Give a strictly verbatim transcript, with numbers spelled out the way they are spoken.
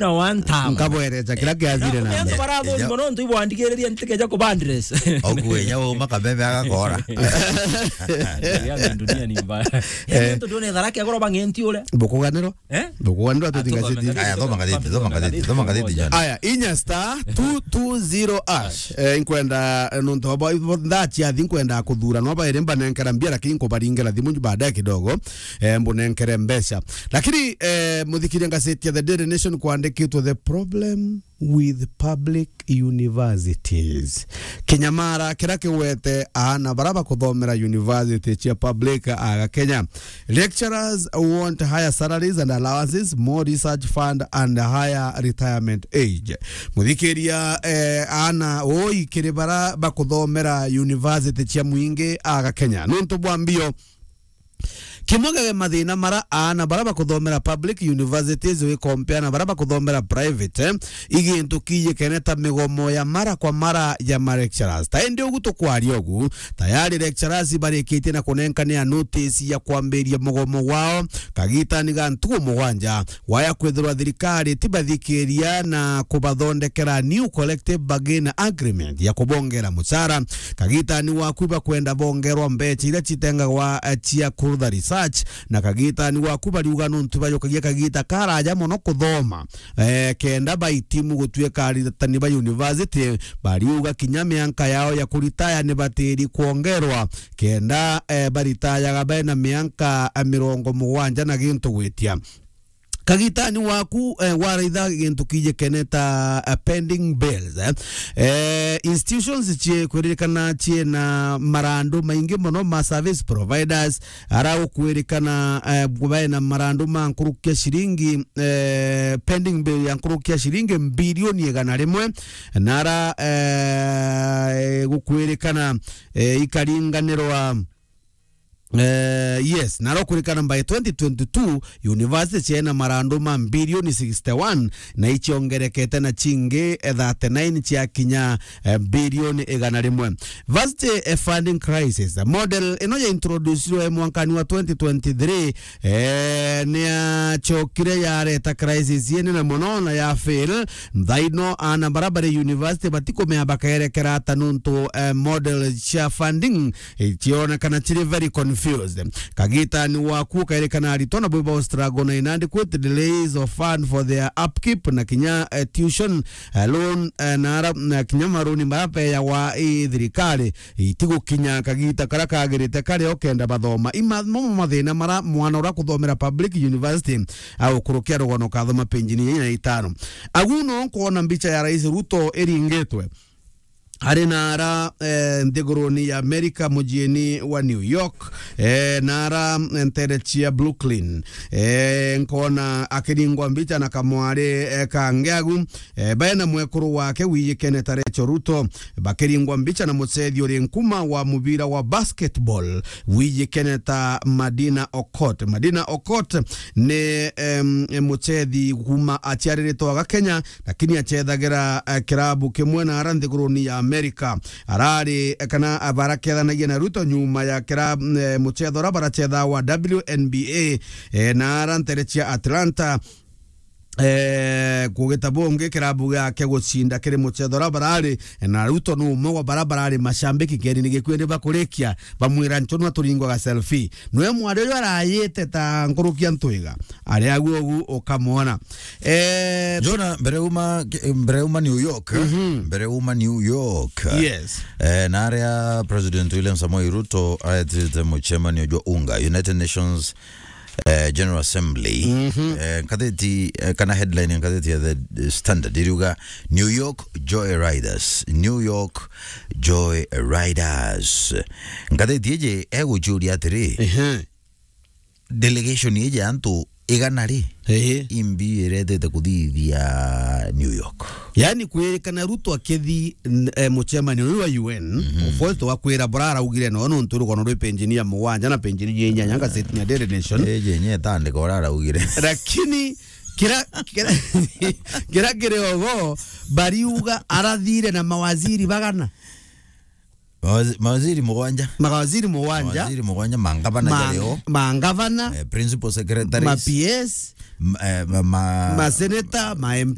na one time. Nkabwereja kira kiathire na antu barathoni mono ntu ibwandigiriria ntikeja kubandres. Okuenya uma kameme agakora. Yaani dunia ni mbaya. Yaani ntu ndone tharaki agoro bang'enti uria. Bukuganirwa? Eh? Bukuganirwa tutinga citi. Aya, thoma ngathiti, thoma ngathiti, thoma ngathiti, John. Aya, inya star two two zero hash. Eh, inkwenda, eh, nontu abo, abo ndachiathi inkwenda kuthura no baire mbanenkera mbia, lakini nkubaringera thimu baadaye kidogo, eh, mbunenkere mbeca. Lakini, eh, muthikiria ngazeti ya The Daily Nation kwandikitwe, "The problem with public universities." Kinyamara kira kiwete aana bara bakuthomera university cia public aga Kenya. Lecturers want higher salaries and allowances, more research fund and higher retirement age. Muthikiria, eh, aana oi kiri bara bakuthomera university cia mwingi aga Kenya. Nontu bwa mbio, kimwe gege mathina mara aana bara bakuthomera public universities wi compare na bara bakuthomera private, eh, igintu kijikene ta migomo ya mara kwa mara ya ma lecturers. Ta indi ugu tukwaria ugu, tayari lecturers barikitie na kunenkania notice ya kwambiria mugomo wao kagitani ga ntugu mugwanja, waya kwithirwa thirikari tibathikiria na kubathondekera new collective bargain agreement ya kubongera mucara. Kagitani waku bakwenda bongerwa mbecha iria citengagwa, eh, cia kurutha research, na kagitani waku bariuga nontu bajukagia kagita karaja mono kuthoma, eh, kenda baitimu gutuika aritani ba university. Bariuga kinya mianka yao ya kuritaya ni batiri kwongerwa, kenda, eh, baritayaga bena mianka, eh, mirongo mugwanja na gintu gwitia. Kagitani waku, eh, waraitha gintu kijikene ta, eh, pending bills, eh. Eh, institutions cie kwirikana ciena marandu maingi mono ma service providers, ara ukwirikana, eh, bena marandu ma nkuruki ya shilingi, eh, pending bill ya nkuruki ya shilingi mbilioni igana rimwe, na ara, eh, gukwirikana, eh, ikaringanirwa Eh, yes, na rokurikana by twenty twenty-two, university ciena marandu ma mbilioni sixty-one, na iciongerekete na cingi, eh, thirty-nine cia kinya, eh, mbilioni igana rimwe. Varsity, eh, funding crisis. Model ino ya introducirwe mwankani wa twenty twenty-three, eh, ni yacokire yareta crisis inene mono na ya fail. Nthaino ana bara bari university batikumea bakerekera ata nontu, eh, model cia funding icionekana ciri very confused. Kagitani waku ukairikana aritwa na bwiba struggle na inadequate delays of fund for their upkeep na kinya, eh, tuition, eh, loan, eh, na ara, na kinya maruni marapeyagwa i thirikari itigukinya kagita kara kagirite kari o kenda bathoma. Ima-, mo mathina mara mwana ura kuthomera public university au kurukia rugono kathoma penjini inya na itano. Agu no nkwona mbicha ya Rais Ruto iringitwe. Ari na ara, eh, nthiguruni ya America, mujiini wa New York, eh, na ara, eh, ntere cia Brooklyn. Eh, nkona akiringwa mbicha na kamwari, eh, kangi agu, eh, baena mwekuru wake wijikene ta Rachel Ruto, bakiringwa mbicha na mucethi uri nkuma wa mubira wa basketball wijikene ta Madina Okot. Madina Okot ni, em, mucethi kuma aciariritwe aga Kenya, lakini acethagira, eh, kirabu kimwe na ara nthiguruni ya America. Arari, eh, kana, eh, barakethanagia na Ruto nyuma ya kira-, eh, mucetho uria baracetha wa W N B A, eh, na ara ntere cia Atlanta. Eh, kugita bungi kirabu giake gucinda kiri mucetho uria barari, eh, na Ruto ni umwe wa bara barari macambiki keni ni gikui ni bakurikia, bamwira, "Nchonwa turingwaga selfie." Nwe mwari uyu arayite ta nkuruki ya ntwiga. Ari agu ugu ukamwona. Eh, Jona, mbere uma, mbere uma New York, mhm, mbere uma New York. Yes. Eh, na aria President William Samoei Ruto aetite mucemanio jwa UNGA, United Nations, eh, General Assembly. Mhm. Eh, ngatheti, eh, kana headline ya ngatheti ya The Standard iriuga, "New York Joyriders, New York Joyriders." Ngatheti iji egucuria atiri, ehe, delegation iji ya antu igana ri, ehe, imbi iretete kuthithia New York. Yaani kwirikana Ruto akithi, n-, eh, mucemanio uyu wa U N, mhm, of course, twakwira bura araugire no nontu rugono rwi penjini ya mugwanja na penjini ya inyanya ngatheti ya Daily Nation. Iji nye tandika ura araugire. Lakini kira, kira, kira kiri ogo, bariuga arathire na mawaziri bagana. Mawazi- mawaziri mugwanja. Mawaziri mugwanja. Mawaziri mugwanja, mangavana ma- jario, mangavana, eh, principal secretaries, ma P S, m- eh, ma- ma- maseneta, ma M